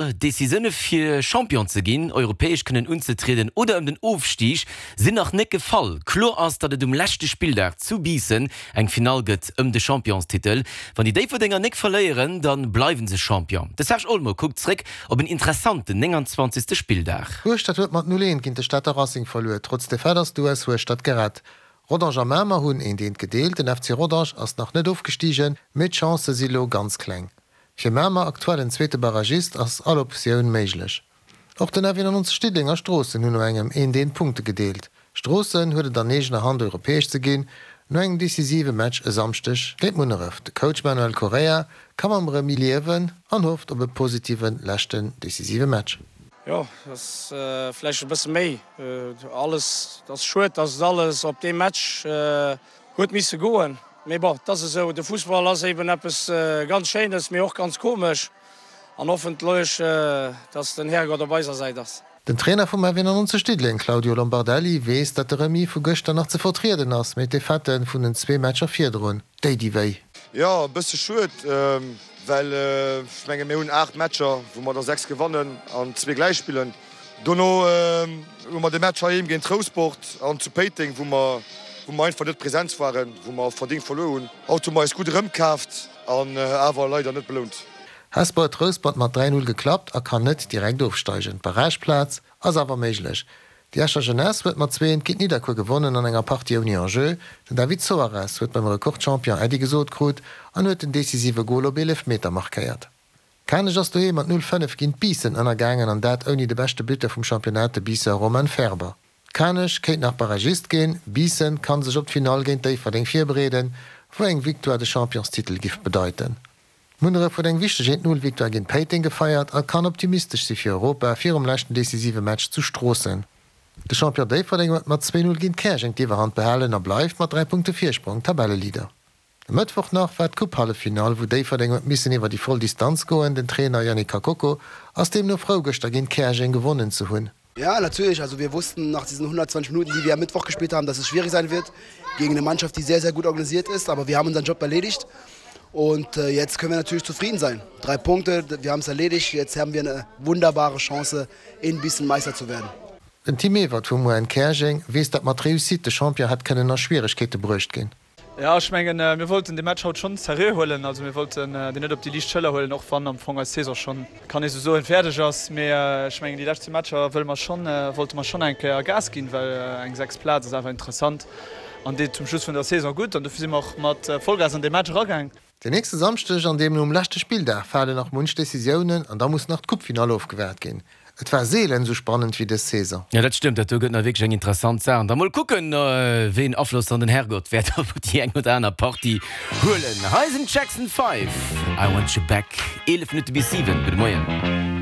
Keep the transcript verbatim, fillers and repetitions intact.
Decisioune fir Champion ze ginn, europäesch kënnen unzetrieden oder ëm den Ofstig sinn nach net gefall. Kloer ass, datt et um leschte Spilldag zu Biissen eng Finall gëtt ëm de Championstitel. Wann déi Déifferdenger nik verléieren, da bleiwe se Champion. De Serge Olmo kuckt zréck op en interessanten nénganzwanzegste Spilldag. Hueschtert huet mat null eent géint de Stater Racing verluer. Trotz Defaite ass d'US Hueschtert gerett. Rodange a Mamer hunn eent eent gedeelt. Den F C Rodange ass nach net ofgestigen, mee d'Chancë si lo ganz kleng. Fir Mamer, aktuellen zweete Barragist, ass all Optioun méiglech. Och den F eenannonzeg Diddeleng a Stroossen hunn no engem eent eent Punkte gedeelt. Stroossen huet et an eegener Hand europäesch ze ginn, no engem decisive Match e Samschdeg géint Munneref. De Coach Manuel Correia ka mam Remis liewen an hofft op e positive leschten decisive Match. Jo, dat ass vläicht e bësse méi alles. Et ass schued, datt et alles op dee Match huet misse goen. Mee bon, et ass esou, de Fussball ass eben eppes ganz Schéines, mee och ganz komesch. An hoffentlech, dass den Härgott op eiser Säit ass. Den Trainer vum F eenannonzeg Diddeleng, Claudio Lombardelli, weess, datt de Remis vu gëschter nach ze vertrieden ass, mee d'Defaite vun den zwee Matcher virdrun, déi di wéi. Jo, e bësse schued, well ech menge mir hunn aacht Matcher, wou mer der sechs gewannen an zwee gläich spillen. Dono hu mer de Match heiheem géint Rousport an zu Péiteng, wou mer wou mer einfach net präsent waren, wou mer verdéngt verluer hunn. Haut hu mer eis gutt erëmkaaft an awer leider net belount. Hesper huet Rouspert mat dräi Null geklappt a kann net direkt ofsteigen. D'Barrageplaz ass awer méiglech. Déi Escher Jeunesse huet mat zwee eent géint Nidderkuer gewonnen an enger Partie ouni Enjeu. Den David Soares huet beim Rekordchampion Äddi gesot krut an huet den decisive Gol op Eelefmeter markéiert. Kanech ass doheem mat null fënnef géint Biissen ënnergaangen an dat ouni de beschte Buteur vum Championnat, de Biisser Romain Ferber. Kanech kéint nach Barragist ginn, Biissen kann sech op d'Finall géint Déifferdeng virbereeden, wou eng Victoire de Championstitel giff bedeiten. Munneref huet eng wichteg eent Null Victoire géint Péiteng gefeiert a kann optimistesch si fir Europa virum leschten decisive Match zu Stroossen. De Champion Déifferdeng huet mat zwee Null géint Käerjeng d'Iwwerhand behalen a bleift mat dräi Punkte Virsprong Tabelleleader. E Mëttwoch nach war d'Coupe-Halleffinall, wou Déifferdeng huet missen iwwer déi voll Distanz goen. Den Trainer Yannick Kakoko ass deemno frou gëschter géint Käerjeng gewonnen ze hunn. Ja, natürlich. Also wir wussten nach diesen hundertzwanzig Minuten, die wir am Mittwoch gespielt haben, dass es schwierig sein wird gegen eine Mannschaft, die sehr, sehr gut organisiert ist. Aber wir haben unseren Job erledigt und äh, jetzt können wir natürlich zufrieden sein. Drei Punkte, wir haben es erledigt. Jetzt haben wir eine wunderbare Chance, in Bissen Meister zu werden. Den Tim Ewert vum U N Käerjeng weess, datt mat Réussite de Champion hätt kënnen a Schwieregkeete bruecht ginn. Ja, ech mengen, mir wollten de Match haut schonn seriö huelen. Also mir wollten deen net op déi liicht Schëller huelen, och wann am Fong eis Saison schonn, kann ee sou soen, fäerdeg ass. Mee ech mengen, déi lescht zwee Matcher wëlle mer schonn, wollte mer schonn eng Kéier Gas ginn, well eng sechs Plaz ass awer interessant an deet zum Schluss vun der Saison gutt. An dofir si mer och mat Vollgas an dee Match eragaang. Den nächste Samschdeg an deemno um leschte Spilldag falen nach munch Decisiounen an da muss nach d'Coupefinall ofgewaart ginn. Et war seelen esou spannend wéi dës Saison. Jo, dat stëmmt, dat do gëtt nach wierklech eng interessant Saach. An da mol kucken, wéi en Afloss dann den Herrgott wäert op déi eng oder aner Partie huelen. Hei sinn d'Jackson Five, I Want You Back, eelef Minutte bis siwen. Gudde Moien.